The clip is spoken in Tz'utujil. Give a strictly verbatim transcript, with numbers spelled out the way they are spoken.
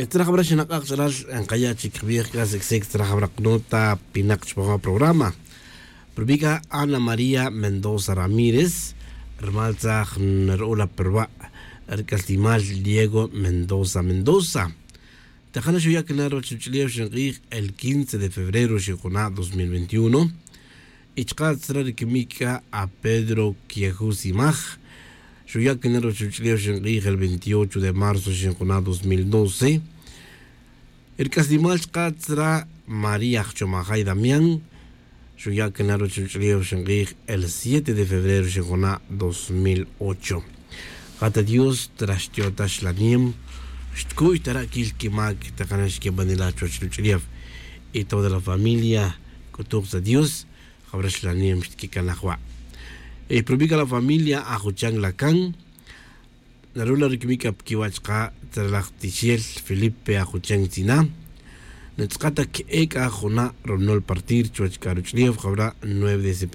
Tzra jabra xinak'ak ch'alal nkaya' chic jbij casi ksic tzra jabra knota pinak chpawa programa. Prubika ana maría mendoza ramírez, rmal tzaj nru'ula prwa' rk'aslimal diego mendoza mendoza. Tajana xuya' kina ruwach ruch'ulef xink'ij el quince de febrero xinkuna' dos mil veintiuno. Y chka' tzra rikimik k'a a pedro quiejusimaj, xuya' kina ruwach ruch'ulef xink'ij el veintiocho de marzo xinkuna' dos mil doce. Rk'aslimal chka' tzra maría jchomajay damián, xuya' kina ruwach ruch'ulef xink'ij el siete de febrero xinkuna' dos mil ocho. Jata dios tra xtyotax la nim, xtku'y tara' kil kimak tajana xkibanilaj chuwach ruch'ulef. Y toda la familia k'utuj tza dios, jabra xlanem xtkikanaj wa'. Y prubika la familia ajuchan la kan, narula rikimik k'a pikiwa' chka' tzralaj tixel felipe ajuchan tzina. Natz'aka' ta ke'e' k'a juna' ronol partir chuwach k'a ruch'ulef jabra nueve de